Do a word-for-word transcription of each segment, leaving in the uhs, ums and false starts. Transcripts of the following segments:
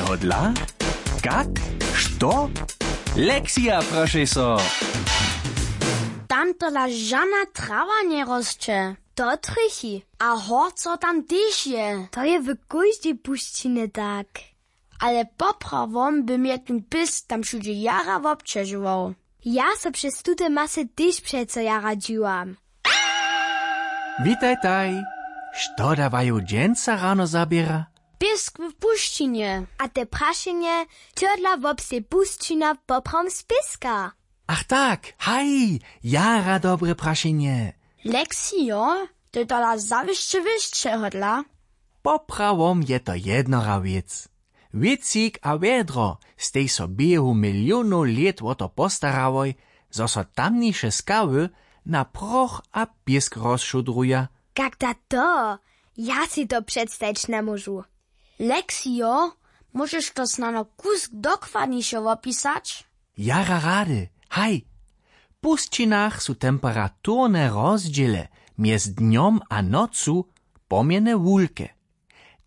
Hodla? Kak? Što? Lexija, prošej so. Tam tola žana trawa njerosće. To trjechi. A horco tam tež je. To je w kóždej pušćinje tak. Ale poprawom by mje tón pěsk tam wšudźe jara wobćežował. Ja so přez tute masy tež přeco jara dźiwam. Witajtaj. Što da waju dźensa rano zaběra? Pěsk w pušćinje. A te prašenje, čodla wobsteji pušćina poprawom z pěska? Ach tak, haj, jara dobre prašenje. Leksijo, to je tola zawěsće wěsće hodla. Poprawom je to jednora wěc. Wěcik a wjedro stej so běhu milionow lět wo to postarałoj, zo so tamniše skały na proch a pěsk rozšudruja. Kak da to? Ja sej to předstajić njemóžu. Leksijo, móžeš to snano kusk dokładniše wopisać? Jara rady, haj. W pušćinach su temperaturne rozdźěle mjez dnjom a nocu pomjene wulke.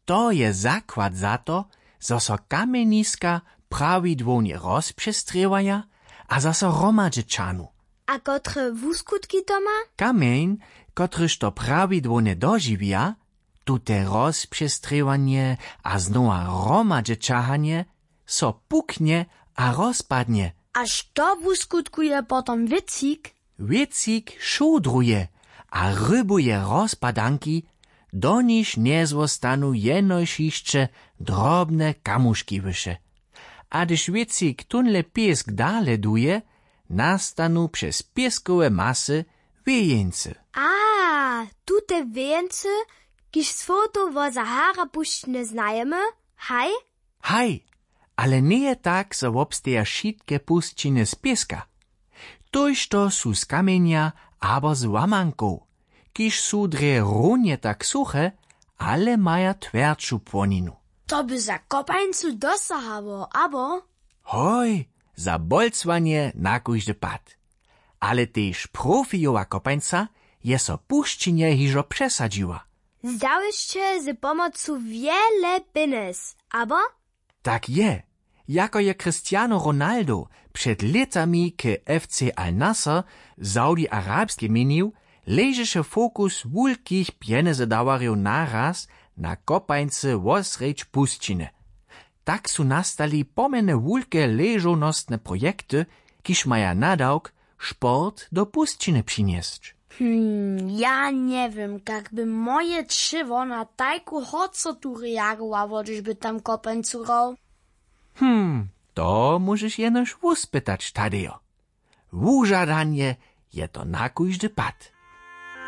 To je zakład za to, zo so kamjeniska prawidłownje rozpřestrěwaja a zaso hromadźe ćahnu. A kotre wuskutki to ma? Kamjeń, kotryž to prawidłownje dožiwja, tute rozpřestrěwanje a znowa hromadźe ćahanje, so puknje a rozpadnje. A što wuskutkuje potom wěcik? Wěcik šudruje a rybuje rozpadanki, do nichž njezwostanu jenož hišće drobne kamuški wyše. A hdyž wěcik tónle pěsk dale duje, nastanu přez pěskowe masy wějeńcy. A, tute wějeńcy, kiž z fotow wo Sahara pušćiny znajemy, haj? Haj, ale njeje tak, zo wobsteja wšitke pušćiny z pěska. Tójšto su z kamjenja abo z łamankow, kiž su drje runje tak suche, ale maja twjerdšu płoninu. To by za kopańcu dosahało, abo? Hoj, za bolcowanje na kóždy pad. Ale tež profijowa kopańca je so w pušćinje hižo přesadźiła. Zdałež sće z pomocu wjele pjenjez, abo? Tak je. Jako je Cristiano Ronaldo před lětami k F C Al Nassr w Saudi Arabskej měnił, ležeše fokus wulkich pjenjezedawarjow naraz na kopańcy wosrjedź pušćiny. Tak su nastali pomjene wulke ležownostne projekty, kiž maja nadawk sport do pušćiny přinjesć. Hm, ja njewěm, kak by moje ćěło na tajku horcotu reagowało, hdyž by tam kopańcu hrał. Hm, to móžeš jenož wuspytać, Tadejo. Wužadanje je to na kóždy pad.